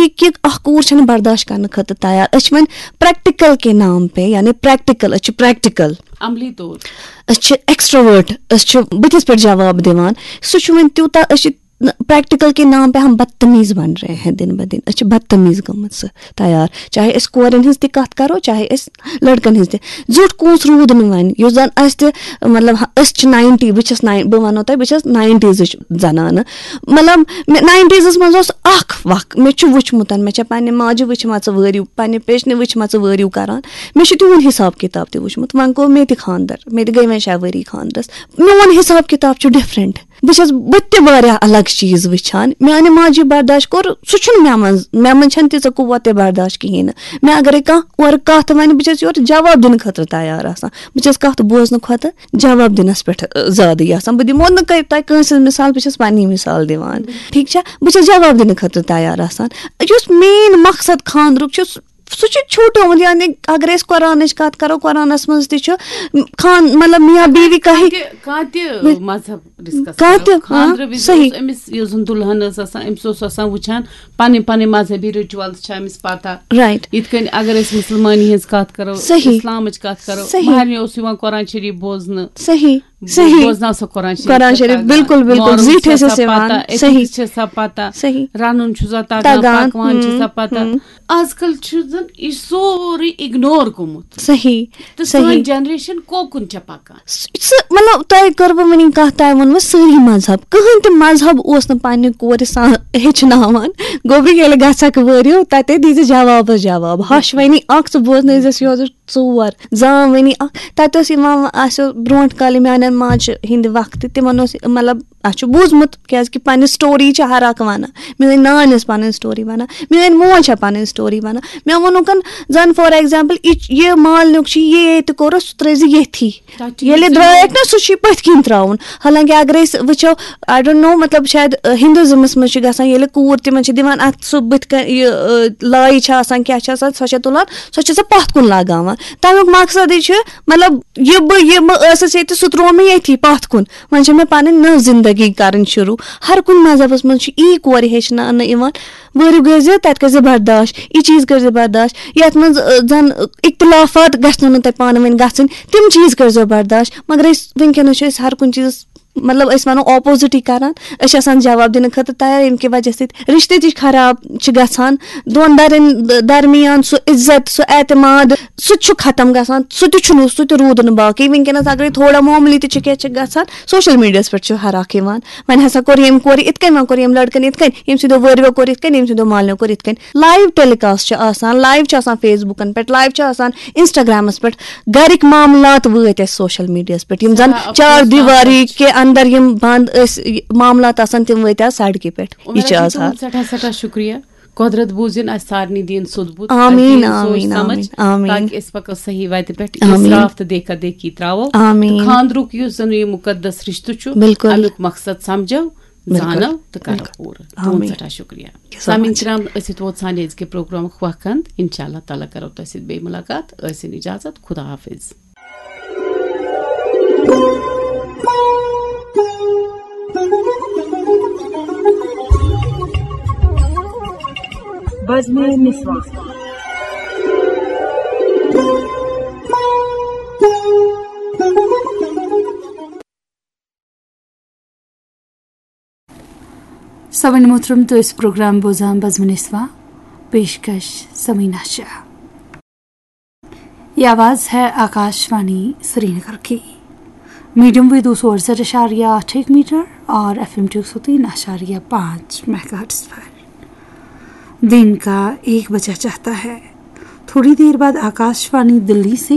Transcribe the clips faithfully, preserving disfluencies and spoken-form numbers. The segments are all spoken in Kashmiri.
کہِ اکھ کوٗر چھنہٕ برداشت کرنہٕ خٲطرٕ تیار۔ أسۍ چھِ وۄنۍ پریکٹیکل کے نام پہ، یعنی پریکٹیکل، أسۍ چھِ پریکٹیکل، عملی طور۔ أسۍ چھِ ایکسٹروورٹ، أسۍ چھِ بٕتھِس پٮ۪ٹھ جواب دِوان۔ سُہ چھُ وۄنۍ تیوٗتاہ، أسۍ چھِ پریکٹیکل کے نام پہ ہم بدتمیز بن رہے ہیں دن بہ دن۔ أسۍ چھِ بدتمیز گٔمٕژ سُہ تیار، چاہے أسۍ کورٮ۪ن ہٕنٛز تہِ کتھ کرو، چاہے أسۍ لڑکن ہٕنٛز تہِ۔ زیُٹھ کونٛس روٗد نہٕ وۄنۍ، یُس زن اسہِ تہِ، مطلب، ہا، أسۍ چھِ ناینٹی، بہٕ چھس ناین، بہٕ ونو تۄہہِ، بہٕ چھس ناینٹیزٕچ زنانہٕ۔ مطلب، مےٚ ناینٹیزس منٛز اوس اکھ وق، مےٚ چھُ وٕچھمُت، مےٚ چھےٚ پننہِ ماجہِ وٕچھمژٕ وٲرِو، پننہِ پیچنہِ وٕچھمژٕ وٲرِو کران۔ مےٚ چھُ تِہُنٛد حساب کتاب تہِ وٕچھمُت۔ وۄنۍ گوٚو مےٚ تہِ خاندر، مےٚ تہِ گٔے وۄنۍ شےٚ ؤری خاندرس۔ میون حساب کتاب چھُ ڈفرنٹ۔ بہٕ چھس، بہٕ تہِ واریاہ الگ چیٖز وٕچھان۔ میانہِ ماجہِ برداشت کوٚر، سُہ چھُنہٕ مےٚ منٛز، مےٚ منٛز چھنہٕ تیٖژاہ قوت تہِ برداشت کِہیٖنۍ نہٕ۔ مےٚ اگرے کانٛہہ اورٕ کتھ ونہِ، بہٕ چھس یورٕ جواب دِنہٕ خٲطرٕ تیار آسان۔ بہٕ چھس کتھ بوزنہٕ کھۄتہٕ جواب دِنس پٮ۪ٹھ، ٲ، زیادٕ یژھان۔ بہٕ دِمو نہٕ کۄ-، تۄہہِ کٲنٛسہِ ہٕنٛز مثال، بہٕ چھس پننی مثال دِوان۔ ٹھیٖک چھا؟ بہٕ چھس جواب دِنہٕ خٲطرٕ تیار آسان۔ یُس مین مقصد خاندرُک چھُ، سُہ، سُہ چھُ چھوٹومُت۔ یعنی اگر أسۍ قرآنٕچ کتھ کرو، قرآنس منٛز تہِ چھُ خان، مطلب، میاں بیوی کہی۔ کانٛہہ تہِ، کانٛہہ تہِ مذہب ڈسکس کانٛہہ کرو۔ تہِ، ہاں، خاندرٕ وِزِ صحیح۔ اوس أمِس، یُس زن دُلہن ٲس آسان، أمِس اوس آسان وٕچھان پنٕنۍ پنٕنۍ مذہبی رچولز چھِ أمِس پتہ۔ رائٹ۔ یِتھ کٔنۍ اگر أسۍ مسلمٲنی ہٕنٛز کتھ کرو، صحیح۔ اسلامٕچ کتھ کرو، صحیح۔ مہرنہِ اوس یِوان قرآن شریف بوزنہٕ۔ صحیح، صحیح۔ بوزناو سا قرآن شریف۔ قرآن شریف، بِلکُل، بِلکُل۔ مارُن زِٹھۍ چھُ ٲسۍ آسان أسۍ یِوان۔ پتہ، أتھۍ صحیح۔ چھِ آسان پتہ۔ صحیح۔ رنُن چھُ آسان تگان، تگان۔ پکوان چھُ ہم، آسان پتہ۔ ہم۔ آز کل چھُ زن یہِ سورُے اگنور گوٚمُت۔ صحیح، تہٕ صحیح۔ سٲنۍ جنریشن کوکُن چھےٚ پکان؟ سُہ، مطلب، تۄہہِ کٔروٕ وٕنی کتھ، تۄہہِ ووٚنوٕ سٲری مذہب، کٕہٕنۍ تہِ مذہب اوس نہٕ پننہِ کورِ سان ہیٚچھناوان۔ گوٚبرِ، ییٚلہِ گژھکھ وٲرِو، تتے دیٖزِ جوابس جواب۔ ہش ونی اکھ، ژٕ بوزنٲیزٮ۪س یوزٕ ژور۔ زام ونی اکھ، تتہِ اوس یِوان، اسہِ اوس برونٛٹھ کالہِ میانٮ۪ن ماجہِ ہٕنٛدِ وقتہٕ، تِمن اوس، مطلب، اسہِ چھُ بوٗزمُت، کیازِ کہِ پننہِ سٹوری چھِ ہر اکھ ونان۔ میٲنۍ نانۍ ٲس پنٕنۍ سٹوری ونان، میٲنۍ موج چھےٚ پنٕنۍ سٹوری ونان۔ مےٚ ووٚنُکھ زن، فار ایگزامپل، یہِ، یہِ مالنیُک چھُ، یہِ ییٚتہِ کوٚرُس، سُہ ترٲیزِ ییٚتھی۔ تَتہِ چھُ ییٚلہِ یہِ درٛایَکھ نا، سُہ چھُے پٔتھۍ کِنۍ ترٛاوُن۔ حالانکہِ اگر أسۍ وٕچھو، I don't know، مطلب، شاید، ٲ، ہندوازمس منٛز چھُ گژھان، ییٚلہِ کوٗر تِمن چھِ دِوان اَتھ سُہ بٕتھِ کَنۍ، یہِ، ٲ، لایہِ چھِ آسان، کیٛاہ چھِ آسان، سۄ چھےٚ تُلان، سۄ چھےٚ سۄ پَتھ کُن لگاوان۔ تَمیُک مقصدٕے چھُ، مطلب، یہِ بہٕ، یہِ بہٕ ٲسٕس ییٚتہِ، سُہ ترٛوو مےٚ ییٚتھی پَتھ کُن۔ وۄنۍ چھےٚ مےٚ پَنٕنۍ نٔو زندگی کَرٕنۍ شروٗع۔ ہر کُنہِ مذہبس منٛز چھُ یی کورِ ہیٚچھناونہٕ یِوان۔ وٲرِو گٔژھۍ زِ تَتہِ کٔرۍ زِ برداشت، یہِ چیٖز کٔرۍ زِ برداشت، یَتھ منٛز، ٲ، زَن اختلافات گژھنو نہٕ تۄہہِ پانہٕ ؤنۍ گژھٕنۍ، تِم چیٖز کٔرۍ زیو برداشت۔ مگر أسۍ وٕنکیٚنَس چھِ أسۍ ہر کُنہِ چیٖزَس، مطلب، أسۍ وَنو opposite ٕے کَران۔ أسۍ چھِ آسان جواب دِنہٕ خٲطرٕ تیار، ییٚمہِ کہِ وجہ سۭتۍ رِشتہٕ تہِ چھِ خراب چھِ گژھان، دۄن دَرٮ۪ن درمیان سُہ عزت، سُہ اعتماد، سُہ تہِ چھُ ختم گژھان، سُہ تہِ چھُنہٕ، سُہ تہِ روٗد نہٕ باقٕے۔ وٕنکیٚنَس اگرے تھوڑا معموٗلی تہِ چھِ کینٛہہ چھِ گژھان، سوشل میٖڈیاہَس پٮ۪ٹھ چھُ ہر اکھ یِوان۔ وۄنۍ ہسا کوٚر ییٚمۍ کورِ یِتھ کٔنۍ، وۄنۍ کوٚر ییٚمۍ لڑکن یِتھ کٔنۍ، ییٚمہِ سٕنٛدیو وٲرویو کوٚر یِتھ کٔنۍ، ییٚمہِ سٕنٛدیو مالنیو کوٚر یِتھ کٔنۍ۔ لایو ٹیلی کاسٹ چھُ آسان، لایو چھُ آسان فیس بُکن پٮ۪ٹھ، لایو چھُ آسان انسٹاگرامس پٮ۪ٹھ۔ گرِکۍ معاملات وٲتۍ اَسہِ سوشل میٖڈیاہَس پٮ۪ٹھ، یِم زن سٮ۪ٹھاہ افسوسناک چار کتھ دیواری چھِ۔ کے اندر یِم بند ٲسۍ، یہِ معاملات آسان، تِم وٲتۍ آز سڑکہِ پٮ۪ٹھ۔ یہِ عمرہ چھُ جی، آز تُہُنٛد حال۔ سٮ۪ٹھاہ سٮ۪ٹھاہ شُکریہ۔ قۄدرت بوٗزِن اَسہِ سارنٕے دِیِن سیوٚد بُتھ، آمیٖن، اَسہِ دِیِن سونٛچ آمیٖن، سمجھ، آمیٖن، آمیٖن۔ تاکہِ أسۍ پَکو صحیح وَتہِ پٮ۪ٹھ، آمیٖن۔ اِسراف تہٕ دیکھا دیکھی ترٛاوو۔ آمیٖن۔ تہٕ خانٛدرُک یُس زَن یہِ مُقدس رِشتہٕ چھُ، بِلکُل۔ اَمیُک مقصد سَمجھو، بِلکُل۔ زانو تہٕ کَرو بِلکُل۔ پوٗرٕ۔ آمیٖن۔ تُہُنٛد سٮ۪ٹھاہ شُکریہ۔ سلام۔ سامعیٖن کرام، أسۍ ییٚتہِ ووت سانہِ أزکہِ پروگرامُک وقت اَنٛد۔ اِنشاء اللہ تعالیٰ کَرو تۄہہِ سۭتۍ بیٚیہِ مُلاقات۔ ٲسِن اِجازت۔ خدا حافظ۔ بزمِ نسواں۔ سامعین محترم، تُہۍ ٲسِو پروگرام بوزان بزمِ نسواں، پیشکش سمینا شاہ۔ یہ آواز ہے آکاش وانی سری نگر کی۔ میڈیم ویو دو سو اڑسٹھ اعشاریہ آٹھ ایک میٹر اور ایف ایم ٹو سو تین اعشاریہ پانچ میگا ہرٹز پر۔ دن کا ایک بجا چاہتا ہے۔ تھوڑی دیر بعد آکاش وانی دلی سے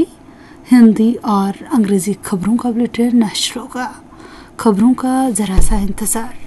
ہندی اور انگریزی خبروں کا بلیٹن نشر ہوگا۔ خبروں کا ذرا سا انتظار۔